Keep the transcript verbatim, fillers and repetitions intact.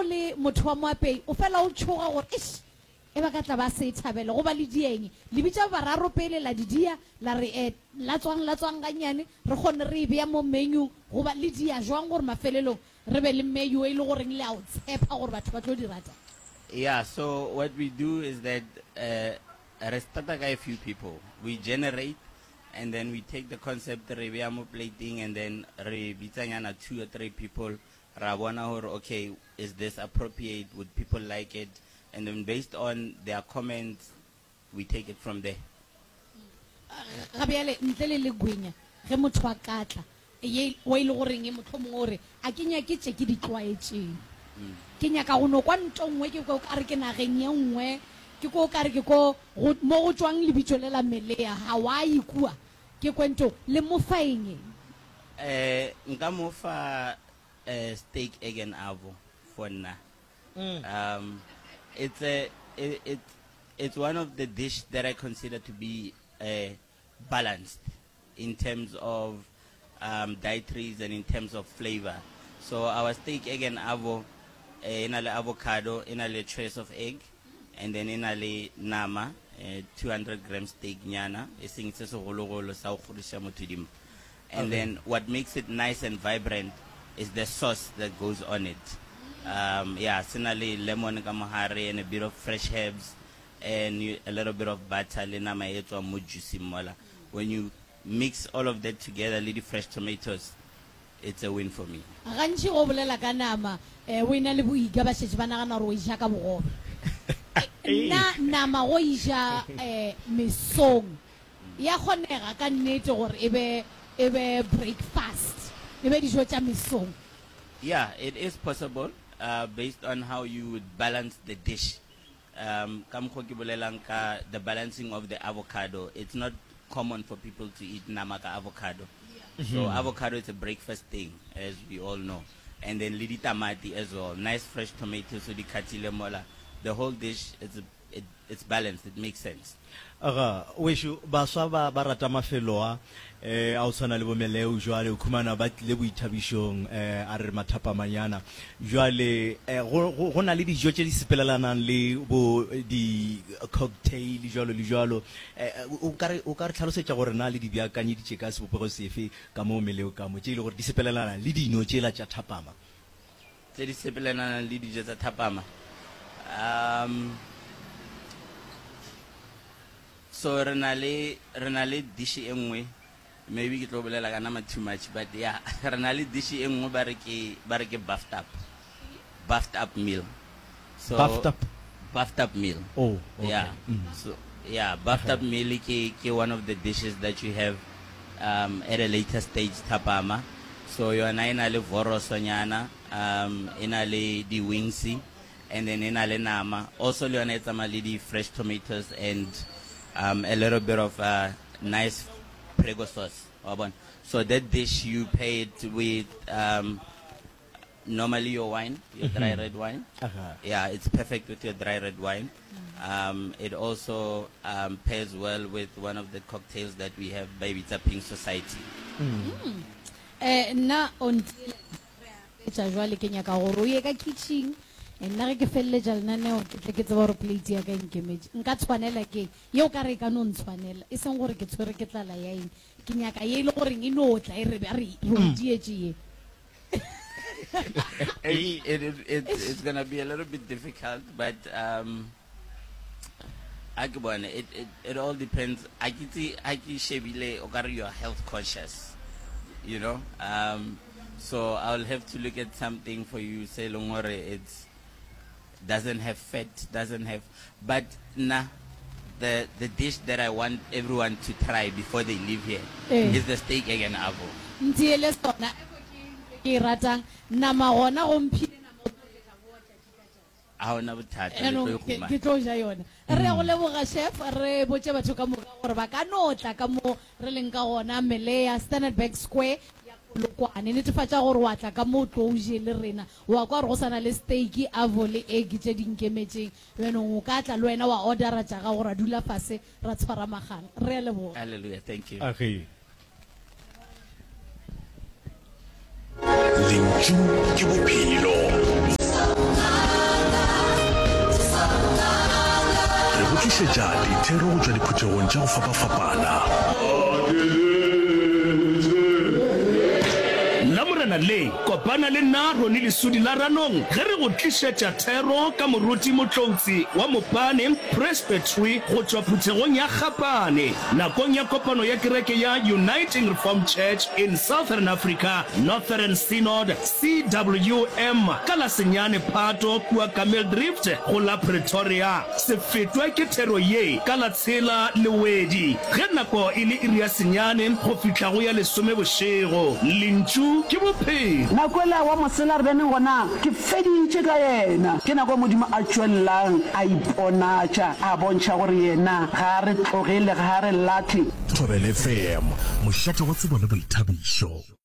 le motho wa moapei o fela o tšhoga gore ish e ba ka tla ba se e thabele go ba le dieng le bitša bararo pele la di dia la re eh, la tswang la tswang gannyane re kgone re e bea mo menu goba le dia jwang gore mafelelong re be le menu e le goreng le a o tshepa gore batho ba tlo di rata Yeah, so what we do is that uh, re starta ka a few people. We generate and then we take the concept re beya mo plating and then re bitsanyana two or three people ra bona hore okay is this appropriate would people like it and then based on their comments we take it from there. ga bjale ntle le legwenya ge motho a ka tla ye wa ile goreng e mohlomongwe o re a ke nyake tše ke di tlwaetšeng ke nyaka go no kwa nto nngwe ke ko kare ke nageng ye nngwe ke ko kare ke ko go- mo go tswang lebitso le la melea hawaii kua ke kwento le mo fa eng Eh nka mo fa uh, steak egg and avo for nna. Um it's a it, it it's one of the dish that I consider to be uh, balanced in terms of um, dietaries and in terms of flavor. So our steak egg and avo eh, e na le avocado, e na le trace of egg, and then e na le nama, eh, two hundred gram steak nyana, e seng se segologolo sa go kgodiša motho dimpa. And then what makes it nice and vibrant is the sauce that goes on it. Um, yeah, se na le lemon ka mohare and a bit of fresh herbs and you, a little bit of butter le nama e tswang mo juicy mola. When you mix all of that together, le di fresh tomatoes, it's a win for me. gantši go bolela ka nama um o ena le boika ba šetše ba nagana gore o e ja ka bogobe nna nama go e ja um mesong ya kgonega ka nnete gore e be e be breakfast e be dijo tša mesong Yeah, it is possible uh, based on how you would balance the dish. Um, ka mokgwa ke bolelang ka the balancing of the avocado. It's not common for people to eat nama ka avocado. So avocado is a breakfast thing, as we all know. And then le ditamati as well. Nice fresh tomatoes, so di khathile mola. The whole dish, it's, a, it, it's balanced. It makes sense. Aga wešo baswa ba ba rata mafelo a eh a o tshwana le bomeleo jwale o khumana ba tlile boithabišong eh a re mathapamanyana jwale eh, go go- go na le dijo tše di sepelelanang le bo di cocktail jwalo le jwalo eh o ka re o ka re tlhalosetša gore na le di beakanyeditše ka sebopego sefe ka mo meleo ka mo tše e le gore di sepelelana le dino tšela tša thapama Tse di sepelanang le dijo tsa thapama. Um, so re na le re na le dish e nngwe maybe ke tlo bolela ka nama too much but yeah re na le dish e nngwe ba re ke ba re ke buffed up buffed up meal so Buffed up? buffed up meal Oh, okay. yeah Mm. so yeah buffed up meal ke ke one of the dishes that you have um, at a later stage thapama so yona e na le vorosonyana um e na le di wings and then e na le nama also le yona e tsamaya le di fresh tomatoes and um, a little bit of uh, nice prego sauce wa bona so that dish you pair it with um, normally your wine your dry red wine Aha. yeah, it's perfect with your dry red wine. Um, it also um, pairs well with one of the cocktails that we have, Baby Pink Society. um nna o ntiela tša jwale ke nyaka gore o ye ka kitchen Eh, nna ge ke feleletša lenaneo ke tle ke tseba gore plate ya ka e nkemetše nka tshwanela ke yeo ka re e ka no ntshwanela e seng gore ke tshwere ke tlala ya eng ke nyaka ye e le goreng e no tla e re a re re o dietše ye It, it, it, it, it's going to be a little bit difficult, but um, I ke bone, it, it, it all depends. I ke tse- ha ke shebile, o kare you are health conscious, you know. Um, so I'll have to look at something for you, say leng hore it's doesn't have fat, doesn't have, but nah, the the dish that I want everyone to try before they leave here Eh. is the steak egg and avo. ntiele sona ke e ratang nama gona go mphile nama o tlo tla boa tšatši ka tšatši. Ha hona bothata, le tlo Jaanong e ke fumana. ke tlo ja yona re ya go leboga chef re botse batho ka moka gore ba ka no tla ka mo re leng ka gona melea standard bank square ya polokwane netefatša gore wa tla ka mo o tlo o je le rena wa kwa gore go sana le steak avo le egg tše di nkemetseng jaanong o ka tla le wena wa ordera tša gago ra dula fase ra tshwara magang re a leboga Hallelujah, thank you. Age. Lentšu ke bophelo. tlišetša dithero go tšwa diphuthegong tša go fapafapana. Lamorena le, kopana le nna Ronnie Lesudi la Ranong ge re go tlišetša thero ka Moruti Motloutsi wa Mopane Presbytery go tšwa phuthegong ya Gapane nakong ya kopano ya kereke ya Uniting Reformed Church in Southern Africa Northern Synod, CWM, ka la senyane Phato kua Kameeldrift go la Pretoria. Se fetwe ke thero ye ka la tshela Lewedi ge nako e le iri ya senyane go fihla go ya lesome bošego. Lentšu ke bophelo. Nako ela wa mosela re beneng gona, ke feditše ka yena. Ke nako Modimo a tšwelelang a iponatša, a bontšha gore yena ga a re tlogele, ga a re lahle. Thobela FM, mošate wa tsebo le boithabišo.